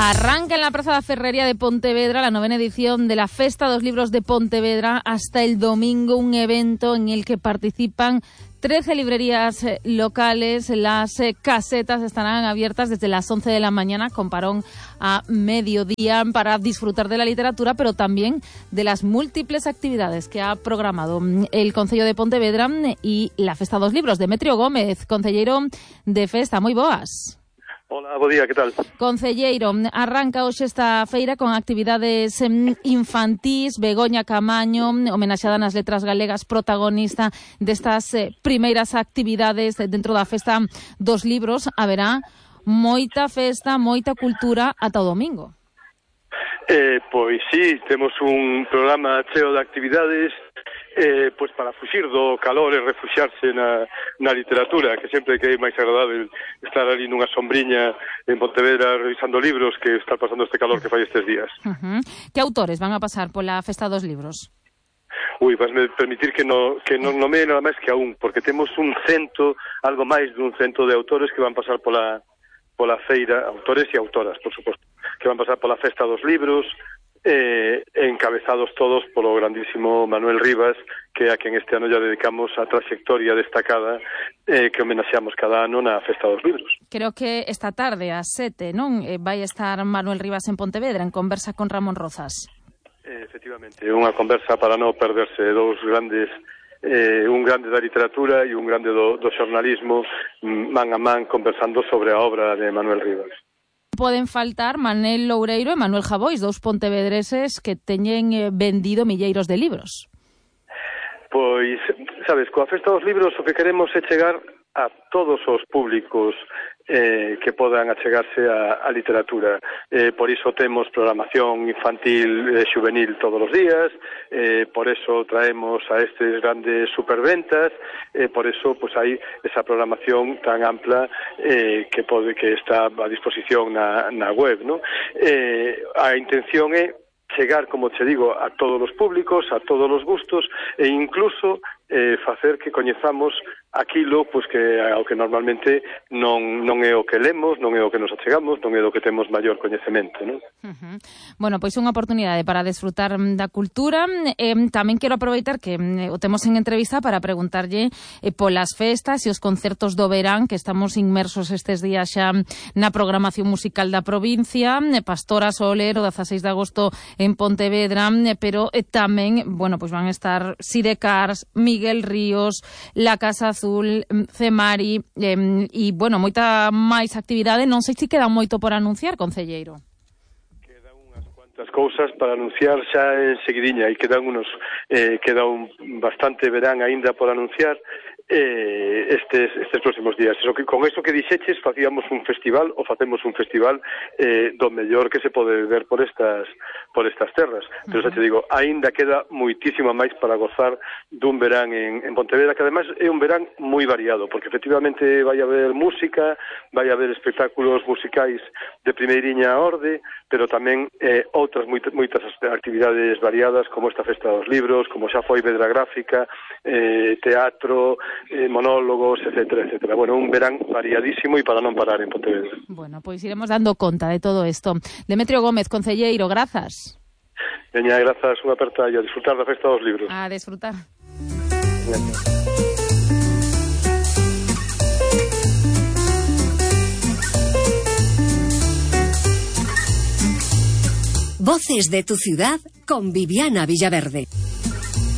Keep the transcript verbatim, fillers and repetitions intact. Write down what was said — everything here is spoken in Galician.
Arranca en la Praza da Ferrería de Pontevedra la novena edición de la Festa dos Libros de Pontevedra hasta el domingo, un evento en el que participan trece librerías locales. Las casetas estarán abiertas desde las once de la mañana con parón a mediodía para disfrutar de la literatura, pero también de las múltiples actividades que ha programado el Concello de Pontevedra y la Festa dos Libros. Demetrio Gómez, concelleiro de Festa, moi boas. Hola, bo día, que tal? Concelleiro, arranca hoxe esta feira con actividades infantís. Begoña Camaño, homenaxeada nas letras galegas, protagonista destas eh, primeiras actividades dentro da Festa dos Libros. Haberá moita festa, moita cultura ata o domingo. Eh, pois sí, temos un programa cheo de actividades eh, pois para fuxir do calor e refuxiarse na, na literatura, que sempre que é máis agradável estar ali nunha sombriña en Pontevedra revisando libros que está pasando este calor que fai estes días. Uh-huh. Que autores van a pasar pola Festa dos Libros? Ui, vasme permitir que no, que non nomee nada máis que a un, porque temos un cento, algo máis dun cento de autores que van pasar pola, pola feira, autores e autoras, por suposto, que van pasar pola Festa dos Libros, eh, encabezados todos polo grandísimo Manuel Rivas, que a quen este ano ya dedicamos a trayectoria destacada eh, que homenaxeamos cada ano na Festa dos Libros. Creo que esta tarde, ás sete, non? Eh, vai estar Manuel Rivas en Pontevedra, en conversa con Ramón Rozas. Eh, efectivamente, unha conversa para non perderse dous grandes, eh, un grande da literatura e un grande do, do xornalismo, man a man conversando sobre a obra de Manuel Rivas. Poden faltar Manel Loureiro e Manuel Javois, dous pontevedreses que teñen eh, vendido milleiros de libros. Pois, sabes, coa Festa dos Libros o que queremos é chegar a todos os públicos eh, que podan achegarse a, a literatura. Eh, por iso temos programación infantil e eh, juvenil todos os días, eh, por eso traemos a estes grandes superventas, eh, por eso pues, hai esa programación tan ampla eh, que pode que está a disposición na, na web, ¿no? Eh, a intención é chegar, como te digo, a todos os públicos, a todos os gustos e incluso eh, facer que coñezamos aquilo pois que ao que normalmente non non é o que lemos, non é o que nos achegamos, non é do que temos maior coñecemento, non? Uh-huh. Bueno, pois unha oportunidade para desfrutar da cultura. Eh, tamén quero aproveitar que eh, o temos en entrevista para preguntarlle eh, polas festas e os concertos do verán, que estamos inmersos estes días xa na programación musical da provincia. eh, Pastora Soler, o dezaseis de agosto en Pontevedra, eh, pero eh, tamén, bueno, pois van a estar Sidecars, Miguel Ríos, La Casa Azul, Cemari eh, e, bueno, moita máis actividade. Non sei se queda moito por anunciar, concelleiro. Quedan unhas cuantas cousas para anunciar xa en seguidiña e quedan unos, eh, queda un bastante verán aínda por anunciar eh, estes, estes próximos días. Eso que, con eso que dixeches, facíamos un festival, ou facemos un festival eh, do mellor que se pode ver por estas por estas terras. Pero xa te digo, aínda queda moitísimo máis para gozar dun verán en, en Pontevedra, que ademais é un verán moi variado, porque efectivamente vai haber música, vai haber espectáculos musicais de primeiriña orde, pero tamén eh, outras moitas, moitas actividades variadas, como esta Festa dos Libros, como xa foi Vedra Gráfica, eh, teatro, eh, monólogos, etcétera, etcétera. Bueno, un verán variadísimo e para non parar en Pontevedra. Bueno, pois iremos dando conta de todo isto. Demetrio Gómez, concelleiro, grazas. Veña, grazas, unha aperta e a disfrutar da Festa dos Libros. A disfrutar. Bien. Voces de tu ciudad con Viviana Villaverde.